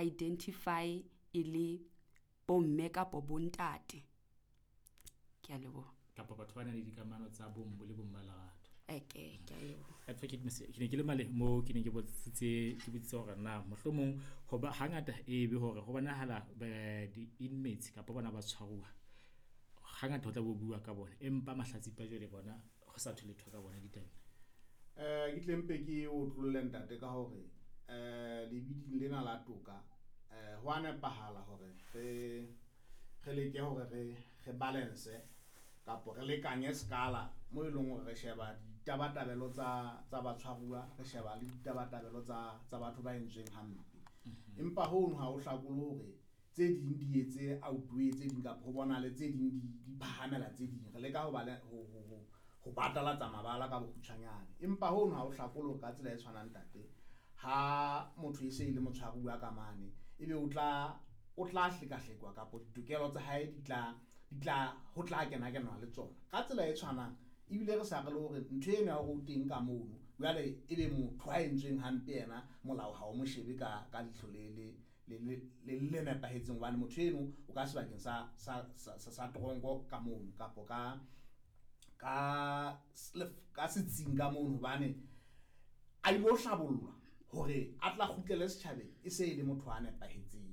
identify e le bomme kapo bontate. Ke a leboha. Kapa batho ba nang le dikamano tsa bong bo le bong ba lerato. Okay, ke a leboha. Advocate Mose, ke ne ke le male moo ke ne ke botsitse ke botsitse hore na mohlomong hoba hangata e be hore ho bonahala di-inmates kapa bona ba tshwaruwa hangata ho tla bo bua ka bona, empa mahlatsipa jwale bona ho sa thwe letho ka bona ditabeng. Ke tle mpe ke otlolle ntate ka hore lebiding lena la toka ho a nepahala hore re re leke hore re re balance kapo re lekanye skala mo e leng hore re sheba ditabatabelo tsa tsa batshwaruwa, re sheba le ditabatabelo tsa tsa batho ba entsweng hampe. Empa hono ha o hlakole hore tse ding di etse outweigh tse ding kapa ho bonahale tse ding di di phahamela tse ding. Re leka ho ba le ho ho ho ho batalatsa mabala ka bokgutshwanyane. Empa hono ha o hlakole hore ka tsela e tshwanang ntate, ha motho e se e le motshwaruwa ka mane, ebe o tla o tla hlekahlekwa kapo ditokelo tsa hae di tla di tla ho tla kena kenwa le tsona. Ka tsela e tshwanang ebile re sa re le hore ntho eno ya hore o teng ka mono jwale ebe motho a entsweng hampe yena molao ha o mo shebe ka ka leihlo le le le le le le nepahetseng hobane motho eno o ka sebakeng sa sa sa sa tronko ka mono kapo ka ka ka setsing ka mono hobane a ilo hlabollwa hore a tla kgutlele setjhabeng e se e le motho a nepahetseng.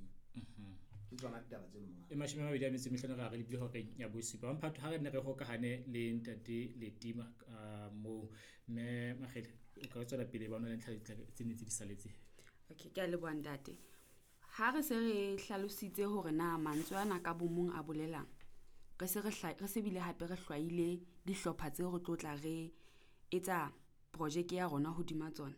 Ke tsona ditaba tseno monghadi. E 25 re re lebile horeng ya bosupa. Mphato ha re ne re hokahane le ntate Letima ka moo, mme Makgele o ka tswela pele ba ona le ntlha tse nne tse di saletseng. Okay, ke a leboha ntate. Ha re se re hlalositse hore na mantswe ana ka bomong a bolelang, re se re re se bile hape re hlwaile dihlopha tseo re tlo tla re etsa projeke ya rona hodima tsona.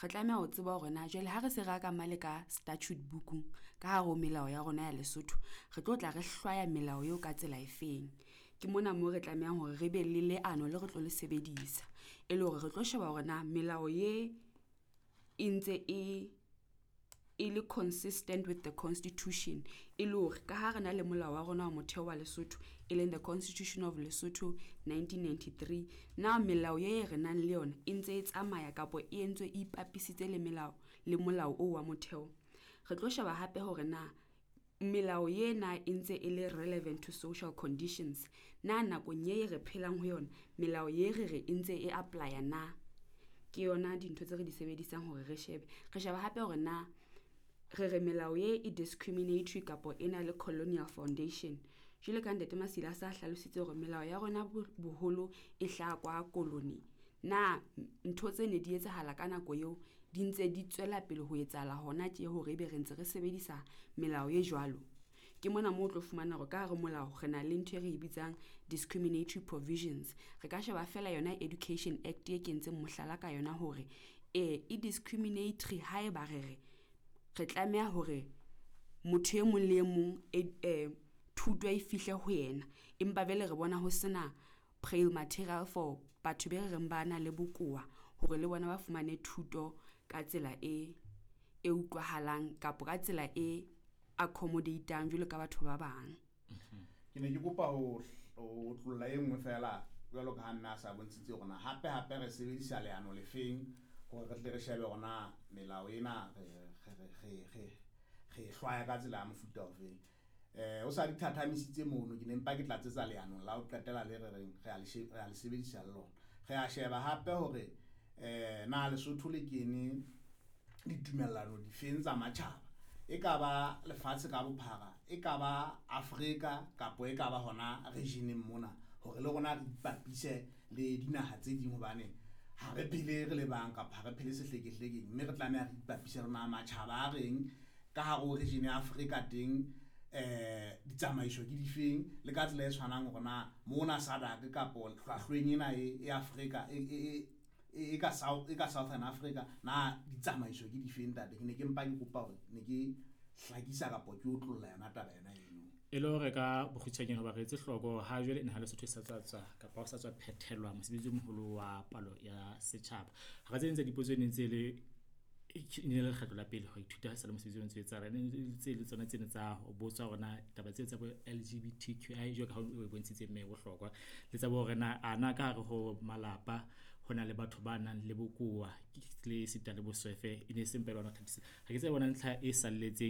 Re tlameha ho tseba hore na jwale ha re se re ka male ka statute book-ung ka hare ho melao ya rona ya Lesotho, re tlo tla re hlwaya melao eo ka tsela e feng. Ke mona moo re tlamehang hore re be le leano le re tlo le sebedisa e le hore re tlo sheba hore na melao ye e ntse e e le consistent with the constitution, e le hore ka ha re na le molao wa rona wa motheo wa Lesotho e leng the Constitution of Lesotho 1993, na melao ye re nang le yona e ntse e tsamaya kapo e entswe e ipapisitse le melao le molao oo wa motheo. Re tlo sheba hape hore na melao ena e ntse e le relevant to social conditions, na nakong ye re phelang ho yona melao ye re re e ntse e apply-a na. Ke yona dintho tse re di sebedisang hore re shebe. Re sheba hape hore na re re melao ye e discriminatory kapo e na le colonial foundation. Jwale ka ntate Masila a sa hlalositse hore melao ya rona boholo e hlaha kwa koloni, na ntho tse ne di etsahala ka nako eo di ntse di tswela pele ho etsahala hona tje hore ebe re ntse re sebedisa melao e jwalo. Ke mona moo o tlo fumana hore ka hare molao re na le ntho e re e bitsang discriminatory provisions. Re ka sheba feela yona Education Act e kentseng mohlala ka yona hore e discriminatory haeba re re re tlameha hore motho e mong le e mong thuto e fihle ho yena, empa jwale re bona ho sena braille material for batho be re reng ba na le bokowa hore le bona ba fumane thuto ka tsela e e utlwahalang kapo ka tsela e accommodate-ang jwalo ka batho ba bang. Ke ne ke kopa ho ho otlolla e nngwe feela jwalo ka ha mme a sa bontshitse hore na hape hape re sebedisa leano le feng hore re tle re shebe hore na melao ena re re re re re e hlwaya ka tsela ya mofuta ofeng. O sa di thathamisitse mono, ke ne mpa ke tlatsetsa leanong la ho qetela le re reng re a le re a le sebedisa le lona. Re a sheba hape hore na Lesotho le kene ditumellano difeng tsa matjhaba, e ka ba lefatshe ka bophara, e ka ba Afrika kapo e ka ba hona region-eng mona, hore le rona re ipapise le dinaha tse ding hobane ha re phele re le bang kapa ha re phele sehlekehlekeng, mme re tlameha re ipapise le na matjhaba a reng ka hare ho region ya Afrika teng ditsamaiso ke difeng, le ka tsela e tshwanang hore na mona SADC kapo hlwahlweng ena e Afrika e e ka South e ka Southern Africa na ditsamaiso ke difeng ntate. Ke ne ke mpa ke kopa hore ne ke hlakisa kapo ke otlolla yona taba yona eno. E le hore ka bokgutshwanyane hoba re etse hloko ha jwale naha Lesotho e sa tswa tswa kapa ho sa tswa phethelwa mosebetsi o moholo wa palo ya setjhaba. Hara tse ding tsa dipotso ne ntse le e ne le lekgetlo la pele ho ithuta sa le mosebetsi o ntse o etsahala. Ne tse le tsona tsene tsa ho botswa hore na taba tseo tsa bo LGBTQI jwalo ka ha o bontshitse mme bohlokwa le tsa bo hore na a na ka hare ho malapa ho na le batho ba nang le bokowa le sita le boswefe e ne e se mpe le hona ho thabisa. Ha ke tsebe bona ntlha e salletseng.